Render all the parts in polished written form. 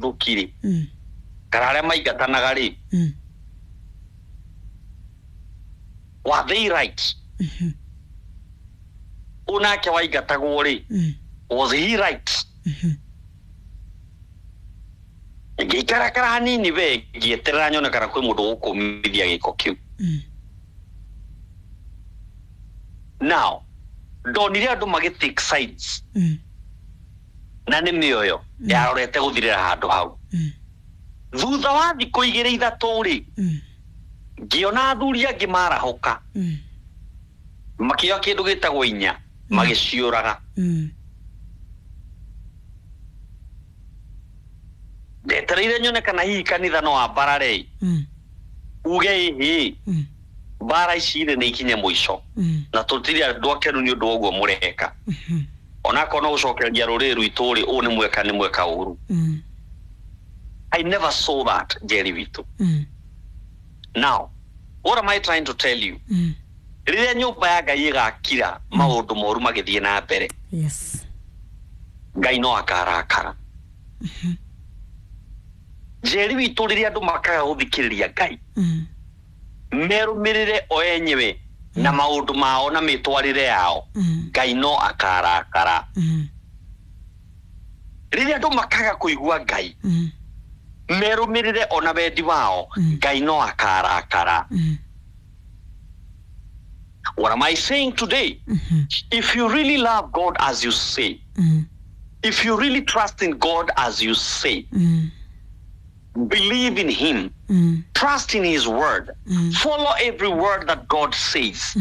Arahũki rĩ, kana arĩa maingatanaga rĩ, were they right? Ũyũ nake waingatagwo rĩ, was he right? Ngĩikarakara hanini we ngĩeterera nyone kana kwĩ mũndũ ũkũmithia gĩko kĩu. Now ndonire andũ magĩ take sides, na nĩ mĩoyo yarorete gũthirĩra handũ hau. Thutha wa thikũ igĩrĩ ithatũ rĩ, ngĩona athuri angĩ marahũka, makĩoya kĩndũ gĩtagwo inya, magĩciũraga. Ndetereire nyone kana hihi kanitha no ambarare, uge ĩhĩ, mbara ici rĩ nĩ ikinye mũico, na tũtirĩ andũ akenu nĩ ũndũ wa ũguo mũreka, onakorwo no gũcokereria rũrĩrĩ rwitũ rĩ, ũũ nĩ mweka, nĩ mweka ũru. I never saw that, Jerry witũ. Now what am I trying to tell you? Rĩrĩa nyũmba ya Ngai ĩgakira maũndũ moru magĩthiĩ na mbere, Ngai no akarakara, Njeri witũ. Rĩrĩa andũ makaga gũthikĩrĩria Ngai, merũmĩrĩre o enyewe na maũndũ mao na mĩtwarĩre yao, Ngai no akarakara. Rĩrĩa andũ makaga kũigua Ngai, merũmĩrĩre ona wendi wao, Ngai no akarakara. What am I saying today? If you really love God as you say, if you really trust in God as you say, believe in him, trust in his word, follow every word that God says,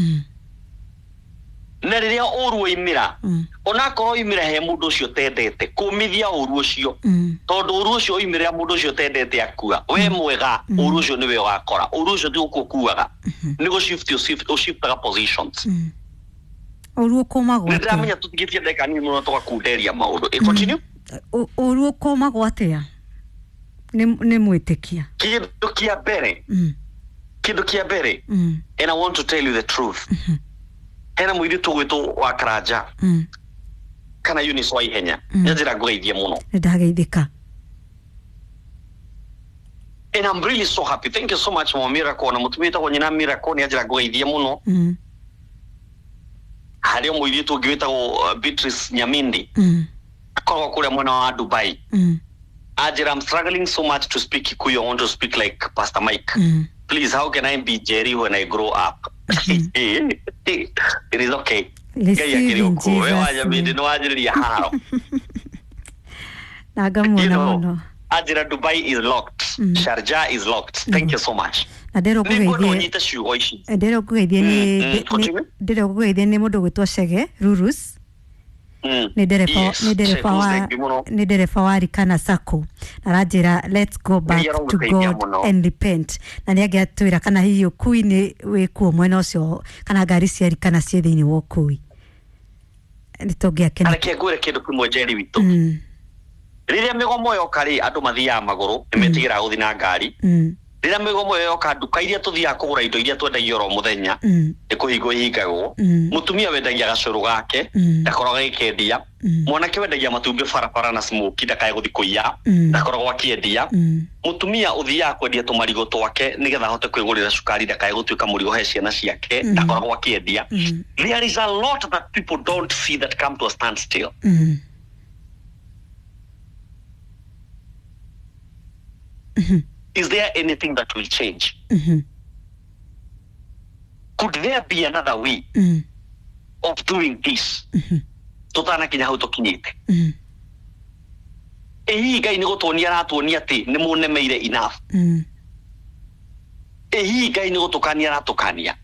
na rĩrĩa ũru waimĩra, onakorwo oimĩra he mũndũ ũcio ũtendete, kũmithia ũru ũcio, tondũ ũru ũcio oimĩrĩra mũndũ ũcio ũtendete akua we mwega, ũru ũcio nĩwe ũgakora. Ũru ũcio ti gũkua ũkuaga, nĩ gũ shift ũshiftaga positions. Ũru ũkũmagwo Nĩ atĩa? ndĩramenya tũtigĩtie ndagĩka nini mũno tũgakunderia maũndũ. Continue. Ũru ũkũmagwo atĩa nĩ mwĩtĩkia? Kĩndũ kĩa mbere, kĩndũ kĩa mbere, and I want to tell you the truth, hena mũirĩtu ũgwĩtwo wa Karanja kana Eunice wa Ihenya, nĩ njĩra ngũgeithie mũno. Nĩ ndageithĩka. And I'm really so happy. Thank you so much, Mama Miracle, na mũtumia wĩtagwo nyina Miracle nĩ anjĩra ngũgeithie mũno. Harĩ o mũirĩtu ũngĩ wĩtagwo Beatrice Nyamindi, akoragwo kũrĩa mwena wa Dubai. Anjĩra, "I'm struggling so much to speak Kikuyu. I want to speak like Pastor Mike. Please, how can I be Jerry when I grow up?" It is okay. Ngai Receive akĩrĩ in ũkuo we Jesus' wa Nyamindi name. nĩ wanjĩrĩria haro. Na You ngamuona know, mũno. Anjĩra Dubai is locked, Sharjah is locked. Thank you so much. Na ndĩrwo Nĩ ngwenda ngũgeithie. ũnyite ciugo ici. Ndĩrwo ngũgeithie nĩ Continue. Ndĩrwo ngũgeithie nĩ mũndũ gwĩtwo Chege Rurus. Nĩ ndereba, nĩ ndereba Sheku, wa thank you mũno. Nĩ ndereba wa Rikana Sacco, na aranjĩra, "Let's go back Ngai to arogũteithia God mũno. and repent." Na nĩ angĩatwĩra kana hihi ũkui nĩ wĩkuo mwena ũcio, kana ngari cia Rikana ciĩ thĩinĩ wa ũkui, nĩ tũngĩakena. Reke ngwĩre kĩndũ kĩmwe, Njeri witũ. Rĩrĩa mĩgomo yoka rĩ, andũ mathiaga magũrũ, nĩ metigĩraga gũthiĩ na ngari. Rĩrĩa mĩgomo ĩyo yoka, nduka iria tũthiaga kũgũra indo iria twendagia oro mũthenya nĩ kũhingwo ihingagwo. Mũtumia wendagia gacũrũ gake ndakoragwo agĩkendia. Mwanake wendagia matumbĩ barabara na smoky ndakae gũthiĩ kũiya, ndakoragwo akĩendia. Mũtumia ũthiaga kwendia tũmarigũ twake nĩgetha ahote kwĩgũrĩra cukari ndakae gũtuĩka mũrigo he ciana ciake, ndakoragwo akĩendia. There is a lot that people don't see that come to a standstill. Is there anything that will change? Could there be another way of doing this tũtanakinya hau tũkinyĩte? Ĩ hihi Ngai nĩ gũtuonia aratuonia atĩ nĩ mũnemeire enough? Ĩ hihi Ngai nĩ gũtũkania aratũkania?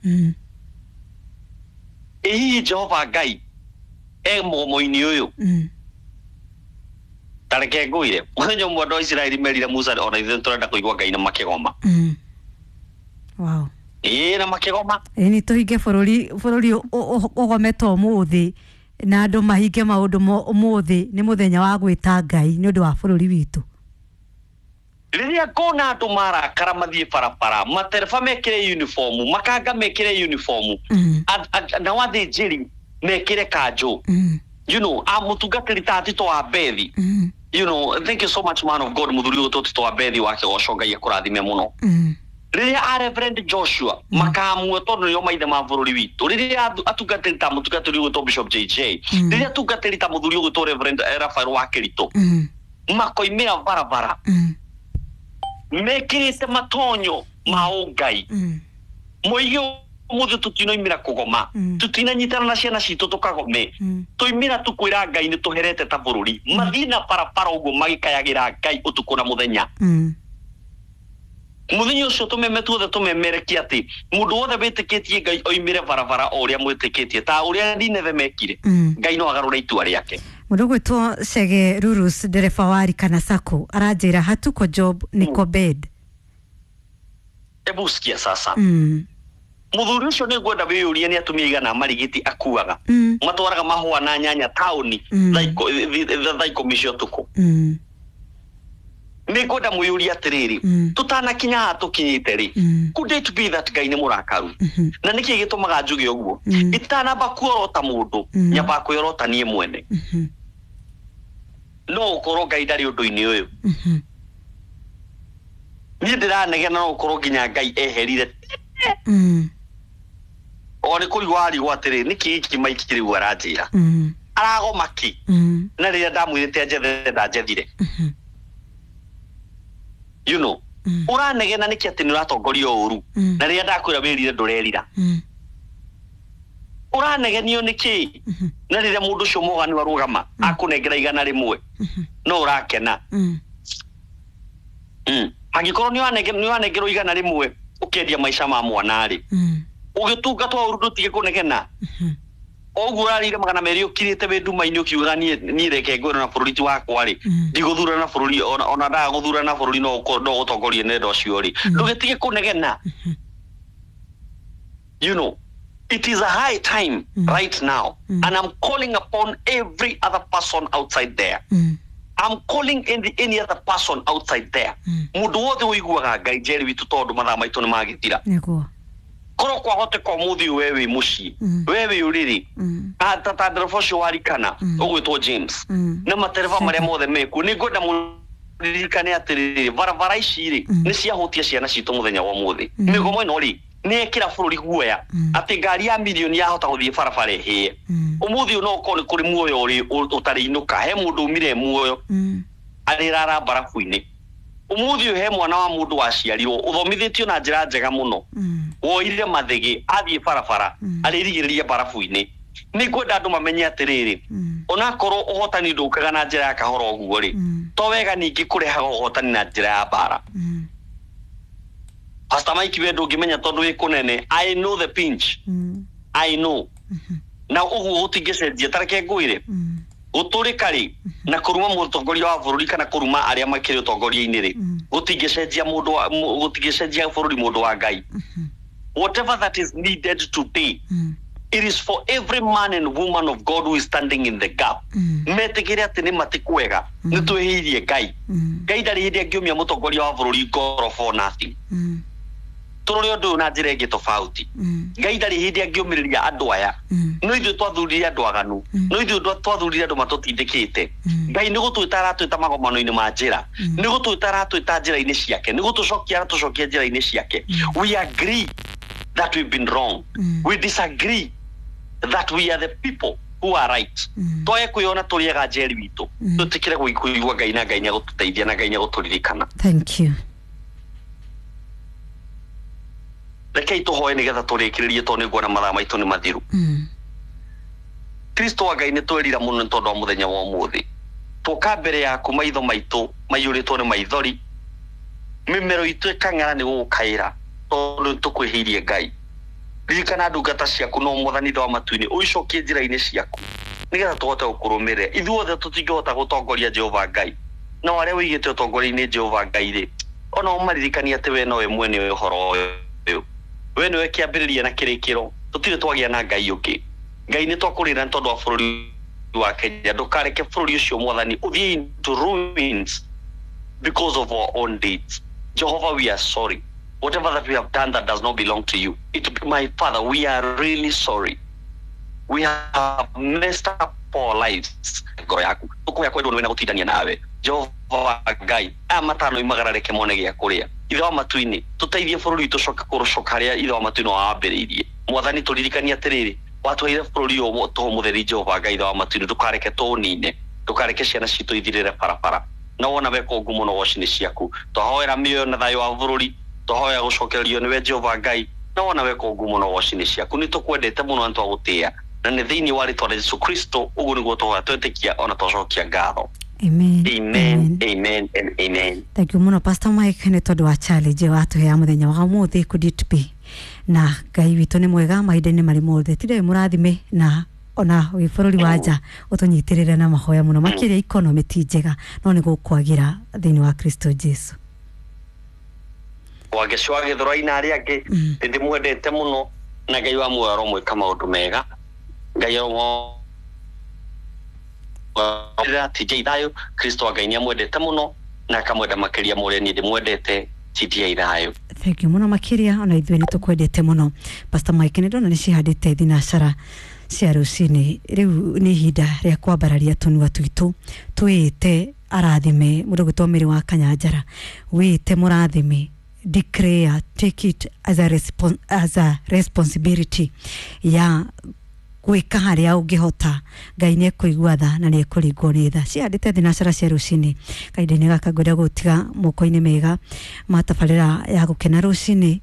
Ĩ hihi Jehova Ngai e mũgomo-inĩ ũyũ? Ta reke ngwĩre, mũthenya ũmwe andũ a Isiraeli merire Musa, ona ithuĩ tũrenda kũigua Ngai, na makĩgoma. Ĩĩ, na makĩgoma. Ĩ nĩ tũhinge bũrũri, bũrũri ũgometwo ũmũthĩ na andũ mahinge maũndũ ũmũthĩ nĩ mũthenya wa gwĩta Ngai nĩ ũndũ wa bũrũri witũ. Rĩrĩa ngona andũ marakara mathiĩ barabara, matereba mekĩre uniform, makanga mekĩre uniform, nao athĩnjĩri mekĩre kanjũ, a mũtungatĩri ta Tito wa Bethi. You know, thank you so much, man of God, muthuri ũyũ tũtito wa Bethi wa kĩgoco, Ngai akũrathime mũno. Rĩrĩa a Reverend Joshua makamue, tondũ nĩo maithe ma bũrũri witũ, rĩrĩa atungatĩri ta mũtungatĩri ũgwĩtwo Bishop JJ, rĩrĩa atungatĩri ta mũthuri ũgwĩtwo Reverend Raphael wa Kĩritũ makoimĩra barabara mekĩrĩte matonyo ma ũngai, moige ũmũthĩ tũtinoimĩra kũgoma, tũtinanyitana na ciana citũ tũkagome, tũimĩra tũkwĩra Ngai nĩ tũherete ta bũrũri. Mathiĩ na barabara ũguo magĩkayagĩra Ngai ũtukũ na mũthenya. Mũthenya ũcio tũmeme tuothe tũmemerekie atĩ mũndũ wothe wĩtĩkĩtie Ngai oimĩre barabara o ũrĩa mwĩtĩkĩtie, ta ũrĩa Nineve mekire. Ngai no agarũre itua rĩake. Mũndũ ũgwĩtwo Chege Rurus, ndereba wa Rikana Sacco, aranjĩra hatuko job niko bed. Ebu sikia sasa. Mũthuri ũcio nĩ ngwenda wĩyũrie nĩ atumia igana marigiti akuaga, matwaraga mahũa na nyanya taũni thaa 10 cia ũtukũ. Nĩ ngwenda mwĩyũrie atĩrĩrĩ, tũtanakinya haha tũkinyĩte rĩ, could it be that Ngai nĩ mũrakaru? Na nĩkĩ gĩtũmaga njuge ũguo? Itanamba kuorota mũndũ, nyambaga kwĩorota niĩ mwene. No ũkorwo Ngai ndarĩ ũndũ-inĩ ũyũ. Niĩ ndĩranegena, no ũkorwo nginya Ngai eherire. O nĩ kũrigwo arigwo atĩrĩ, nĩkĩ gĩkĩ maiki rĩu aranjĩra? Aragoma kĩ? Na rĩrĩa ndamwĩrĩte anjethe, ndanjethire. You know, ũranegena nĩkĩ atĩ nĩ ũratongorio ũru, na rĩrĩa ndakwĩra wĩrire ndũrerira? Ũranegenio nĩkĩ, na rĩrĩa mũndũ ũcio mwaganu arũgama akũnengera 100 no ũrakena? Angĩkorwo nĩ wanengerwo 100 ũkendia maica ma mwana rĩ, ũgĩtungatwo ũru ndũtige kũnegena. Oguo ũrarĩire 200 ũkirĩte wĩ nduma-inĩ ũkiugaga niĩ reke ngwĩre na bũrũri ti wakwa rĩ, ndigũthurana bũrũri, ona ndaga gũthurana bũrũri no ũtongorie nenda ũcio rĩ, ndũgĩtige kũnegena. You know, it is a high time right now, and I'm calling upon every other person outside there. I'm calling any other person outside there, mũndũ wothe ũiguaga Ngai njeri witũ, tondũ mathaa maitũ nĩ magĩthira. Nĩguo. Korwo kwahoteka ũmũthĩ we wĩ mũciĩ, we wĩ ũrĩrĩ, ta ndereba ũcio warikana ũgwĩtwo James na matereba marĩa mothe mekuo, nĩ ngwenda mũririkane atĩrĩrĩ, barabara ici rĩ, nĩ ciahutia ciana citũ mũthenya wa ũmũthĩ. Mĩgomo ĩno rĩ, nĩ ĩkĩra bũrũri guoya atĩ ngari ya mirioni yahota gũthiĩ barabara ĩhĩe. Ũmũthĩ ũyũ no ũkorwo nĩ kũrĩ muoyo ũrĩ ũtarĩ inũka, he mũndũ umire muoyo arĩrara mbarabu-inĩ. Ũmũthĩ ũyũ he mwana wa mũndũ waciarirwo ũthomithĩtio na njĩra njega mũno, woire mathĩgĩ athiĩ barabara arĩrigĩrĩria mbarabu-inĩ. Nĩ ngwenda andũ mamenye atĩrĩrĩ, onakorwo ũhotani ndũkaga na njĩra ya kahora ũguo rĩ, to wega ningĩ kũrehaga ũhotani na njĩra ya mbara. Pastor Mike, we ndũngĩmenya tondũ wĩ kũnene. I know the pinch. I know. Na ũguo gũtingĩcenjia. Ta reke ngwĩre, gũtũrĩka rĩ na kũruma mũtongoria wa bũrũri kana kũruma arĩa makĩrĩ ũtongoria-inĩ rĩ, gũtingĩcenjia mũndũ gũtingĩcenjia bũrũri, mũndũ wa Ngai. Whatever that is needed today, it is for every man and woman of God who is standing in the gap metĩkĩre atĩ nĩ matikwega, nĩ twĩhĩirie Ngai. Ngai ndarĩ hĩndĩ angĩũmia mũtongoria wa bũrũri ngoro for nothing. Tũrore ũndũ ũyũ na njĩra ĩngĩ tofauti. Ngai ndarĩ hĩndĩ angĩũmĩrĩria andũ aya. No ithuĩ twathurire andũ aganu, no ithuĩ twathurire andũ matũtindĩkĩte. Ngai nĩ gũtwĩta aratwĩta magomano-inĩ ma njĩra, nĩ gũtwĩta aratwĩta njĩra-inĩ ciake, nĩ gũtũcokia aratũcokia njĩra-inĩ ciake. We agree that we've been wrong. We disagree that we are the people who are right. Twae kwĩyona tũrĩ ega, njeri witũ, tũtĩkĩre kũigua Ngai, na Ngai nĩagũtũteithia na Ngai nĩagũtũririkana. Thank you. Rekei tũhoe nĩgetha tũrĩkĩrĩrie, tondũ nĩ nguona mathaa maitũ nĩ mathiru. Kristo wa Ngai, nĩ twerira mũno nĩ tondũ wa mũthenya wa ũmũthĩ. Twoka mbere yaku maitho maitũ maiyũrĩtwo nĩ maithori, mĩmero itũ ĩkang'ara nĩ gũgũkaĩra, tondũ nĩ tũkwĩhĩirie. Ngai, ririkana ndungata ciaku, no Mwathani wa matu-inĩ, ũicokie njĩra-inĩ ciaku nĩgetha tũhote gũkũrũmĩrĩra. Ithuothe tũtingĩhota gũtongoria, Jehova Ngai, no arĩa ũigĩte ũtongoria-inĩ, Jehova Ngai rĩ, ona ũmaririkanie atĩ we nowe mwene ũhoro ũyũ, we nĩwe kĩambĩrĩria na kĩrĩkĩro, tũtirĩ twagĩa na Ngai ũngĩ. Ngai, nĩ twakũrĩra nĩ tondũ wa bũrũri wa Kenya. Ndũkareke bũrũri ũcio, Mwathani, ũthiĩ into ruins because of our own deeds. Jehovah, we are sorry. Whatever that we have done that does not belong to you, it, my Father, we are really sorry. We have messed up our lives. Ngoro yaku tũkũhoya kwendwo nĩwe na gũtindania nawe. Jehova Ngai aya matano imagara reke mone gĩa kũrĩa. Ithe wa matu-inĩ tũteithie bũrũri witũ ũcoke kũrũcoka harĩa Ithe wa matu-inĩ wawambĩrĩirie. Mwathani tũririkanie atĩrĩrĩ, watwaire bũrũri ũyũ tũhũ mũtheri Jehova Ngai Ithe wa matu-inĩ, ndũkareke tũũnine, ndũkareke ciana citũ ithirĩre barabara. Na wona weka ũguo mũno goci-inĩ ciaku. Twahoera mĩoyo na thayũ wa bũrũri, twahoya gũcokererio nĩwe Jehova Ngai, na wona weka ũguo mũno goci-inĩ ciaku. Nĩ tũkwendete mũno na twagũtĩĩa, na nĩ thĩinĩ wa rĩtwa rĩa Jesu Kristo ũguo nĩguo twahoya twetĩkia ona twacokia ngatho. Amen. Amen, amen and amen. Thank you muno Pastor Mike nĩ tondũ wa challenge watũhea mũthenya wa ũmũthĩ could it be. Na Ngai witũ nĩ mwega mahinda-inĩ marĩ mothe. Tindai mũrathime na ona wĩ bũrũri wa nja ũtũnyitĩrĩre na mahoya mũno makĩria economy ti njega no nĩ gũkwagĩra thĩinĩ wa Kristo Jesu. Wangeci wa Gĩthũrai na arĩa angĩ nĩ ndĩmwendete mũno na Ngai wa muoyo aromwĩka maũndũ mega. Ngai aromwĩra TJ thayũ. Kristo wa Ngai nĩamwendete mũno na akamwenda makĩria mũrĩa niĩ ndĩmwendete. TJ thayũ. Thank you mũno makĩria ona ithuĩ nĩ tũkwendete mũno Pastor Mike. Nĩ ndona nĩ cihandĩte thinacara cia rũcinĩ. Rĩu nĩ ihinda rĩa kwambararia tũnua twitũ twĩte arathime mũndũ gwĩtwo Mary wa Kanyanjara, wĩte mũrathime, declare, take it as a as a responsibility ya gwĩka harĩa ũngĩhota. Ngai nĩ ekũigua tha na nĩ ekũringwo nĩ tha. Cihandĩte thinacara cia rũcinĩ. Kahinda-inĩ gaka ngwenda gũtiga moko-inĩ mega ma tabarĩra ya gũkena rũcinĩ.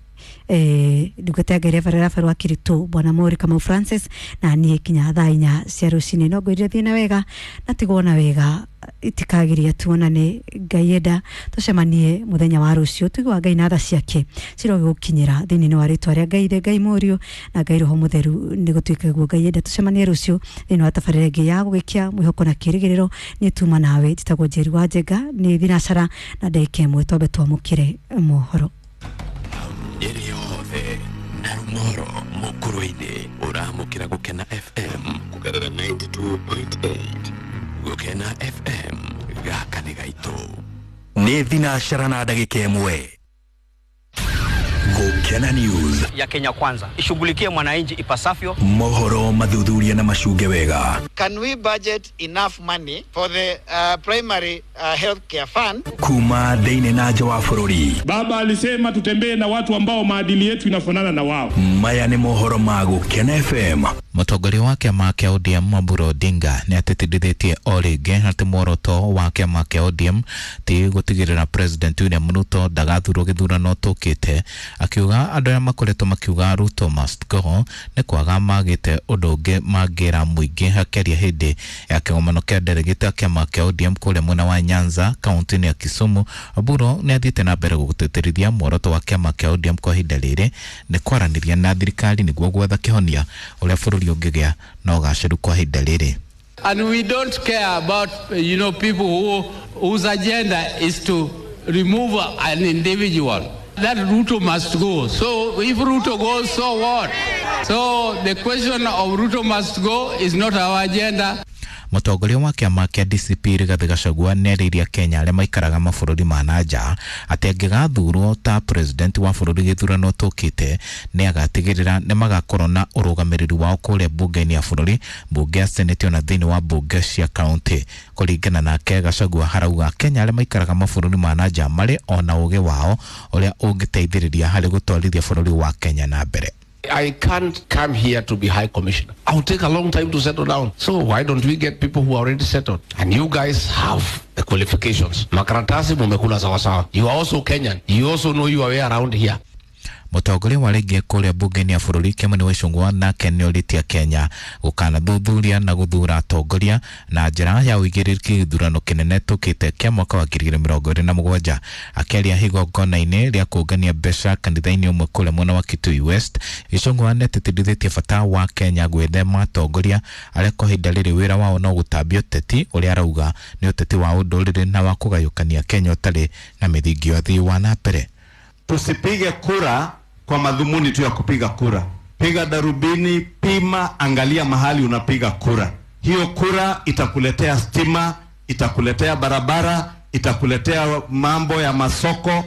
Ndungata ya Ngai Reverend Raphael wa Kiritũ Bwana Mori Kamau Francis na niĩ kinya thaa inya cia rũcinĩ. No ngwĩrire thiĩ na wega na tigwo na wega, itikagiria tuonane. Ngai enda tũcemanie mũthenya wa rũciũ. Tũigua Ngai na tha ciake cirogĩgũkinyĩra thĩinĩ wa rĩtwa rĩa Ngai Ithe, Ngai Mũriũ na Ngai Roho Mũtheru. Nĩ gũtuĩke guo. Ngai enda tũcemanie rũciũ thĩinĩ wa tabarĩra ĩngĩ ya gũgĩkia mwĩhoko na kĩĩrĩgĩrĩro. Niĩ tuma nawe njĩtagwo Njeri wa Njenga, nĩ thinacara na ndagĩka ĩmwe twambe twamũkĩre mohoro. Nyeri yothe na Rumoro Mukurwe-inĩ ũramũkĩra Gũkena FM kũgerera 92.8. Gũkena FM gaka nĩ gaitũ. Nĩ thinacara na ndagĩka ĩmwe. Gũkena News ya Kenya Kwanza ishughulikie mwananchi ipasavyo. Mohoro mathuthuria na macunge wega. Can we budget enough money for the primary health care fund? Kuma thĩinĩ na nja wa bũrũri. Baba alisema tutembee na watu ambao maadili yetu inafanana na wao. Maya nĩ mohoro ma Gũkena FM. Mũtongoria wa kĩama kĩa ODM Oburu Odinga nĩ atĩtĩrithĩtie o rĩngĩ atĩ muoroto wa kĩama kĩa ODM ti gũtigĩrĩra President William Ruto ndagathurwo gĩthurano tũkĩte, akiuga andũ arĩa makoretwo makiuga Ruto must go nĩ kwaga magĩte ũndũ ũngĩ mangĩra mũingĩ. Akĩaria hĩndĩ ya kĩgomano kĩa delegate kĩama kĩa ODM kũrĩa mwena wa Nyanza kaunti-inĩ ya Kisumu, Oburu nĩ athiĩte na mbere gũtĩtĩrithia muoroto wa kĩama kĩa ODM kwa ihinda rĩrĩ nĩ kwaranĩria na thirikari nĩguo gwetha kĩhonia ũrĩa bũrũri ũngĩgĩa na ũgacĩru kwa ihinda rĩrĩ. And we don't care about, you know, people whose agenda is to remove an individual. That Ruto must go. So if Ruto goes, so what? So the question of Ruto must go is not our agenda. Mũtongoria wa kĩama kĩa DCP Rigathĩ Gachagua nĩarĩirie Kenya arĩa maikaraga mabũrũri ma na nja atĩ angĩgathurwo ta president wa bũrũri gĩthurano tũkĩte nĩ agatigĩrĩra nĩ magakorwo na ũrũgamĩrĩri wao kũrĩa mbunge-inĩ ya bũrũri, mbunge ya senate ona thĩinĩ wa mbunge cia kaunti. Kũringana nake Gachagua harauga Kenya arĩa maikaraga mabũrũri ma na nja marĩ ona ũgĩ wao ũrĩa ũngĩteithĩrĩria harĩ gũtwarithia bũrũri wa Kenya na mbere. I can't come here to be high commissioner. I'll take a long time to settle down. So why don't we get people who are already settled? And you guys have the qualifications. Makaratasi mumekula sawa sawa. You are also Kenyan. You also know your way around here. Mũtongoria wa rĩngĩ kũrĩa mbunge-inĩ ya bũrũri Kimani Ichung'wah nake nĩorĩtie Kenya gũkanathuthuria na gũthura atongoria na njĩra ya ũigĩrĩrĩki gĩthurano kĩnene tũkĩte kĩa mwaka wa 2027. Akĩaria igongona-inĩ rĩa kũngania mbeca kanitha-inĩ ũmwe kũrĩa mwena wa Kitui West, Ichung'wah nĩatĩtĩrithĩtie bata wa Kenya gwĩthema atongoria arĩa kwa ihinda rĩrĩ wĩra wao no gũtambia ũteti ũrĩa arauga nĩ ũteti wa ũndũrĩrĩ na wa kũgayũkania Kenya ũtarĩ na mĩthingi ya ũthii wa na mbere. Tusipige kura kwa madhumuni tu ya kupiga kura. Piga darubini, pima, angalia mahali unapiga kura. Hiyo kura itakuletea stima, itakuletea barabara, itakuletea mambo ya masoko.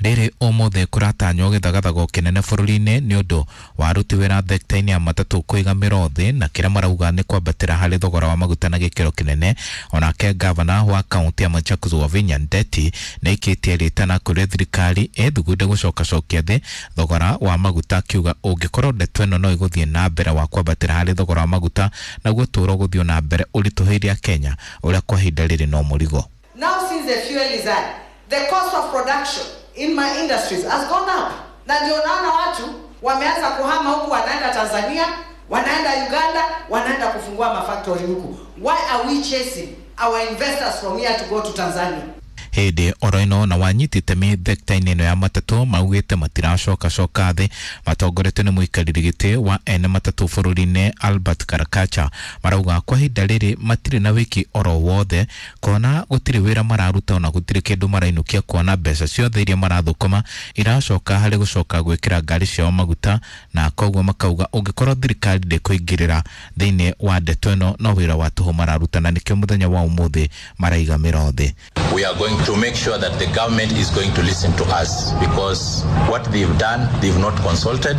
Rĩrĩ ũmũthĩ kũratanywo gĩthagathago kĩnene bũrũri-inĩ nĩ ũndũ wa aruti wĩra thekta-inĩ ya matatũ kũiga mĩro thĩ na kĩrĩa marauga nĩ kwambatĩra harĩ thogora wa maguta na gĩkĩro kĩnene. Onake gavana wa kaunti ya Machakos Wavinya Ndeti nĩ aikĩtie rĩtana kũrĩ thirikari ĩthugunde gũcokacokia thĩ thogora wa maguta, akiuga ũngĩkorwo ndeto ĩno no ĩgũthiĩ na mbere wa kwambatĩra harĩ thogora wa maguta naguo tũro gũthiĩ na mbere ũritũhĩire Kenya ũrĩa kwa ihinda rĩrĩ no mũrigo. Now since the fuel is high, the cost of production in my industries has gone up. Na ndio naona watu wameanza kuhama huku, wanaenda Tanzania, wanaenda Uganda, wanaenda kufungua mafactory huku. Why are we chasing our investors from here to go to Tanzania? Hĩndĩ oro ĩno na wanyiti itemi thekta-inĩ ĩno ya matatũ maugĩte matiracokacoka thĩ matongoretio nĩ mũikarĩri gĩtĩ wa ene matatũ bũrũri-inĩ Albert Karakacha. Marauga kwa ihinda rĩrĩ matirĩ na wĩki oro wothe kuona gũtirĩ wĩra mararuta ona gũtirĩ kĩndũ marainũkia, kuona mbeca ciothe iria marathũkũma iracoka harĩ gũcoka gwĩkĩra ngari ciao maguta, na koguo makauga ũngĩkorwo thirikari ndĩkũingĩrĩra thĩinĩ wa ndeto ĩno no wĩra wa tũhũ mararuta, na nĩkĩo mũthenya wa ũmũthĩ maraiga mĩro thĩ. We are going to make sure that the government is going to listen to us, because what they've done, they've not consulted,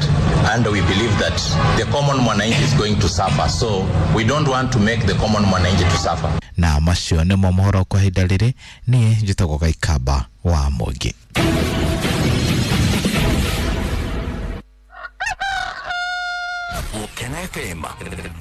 and we believe that the common mwananchi is going to suffer. So we don't want to make the common mwananchi to suffer. Na macio nĩmo mohoro kwa ihinda rĩrĩ. Niĩ njĩtagwo Gaikamba wa Mũingĩ. Gũkena FM.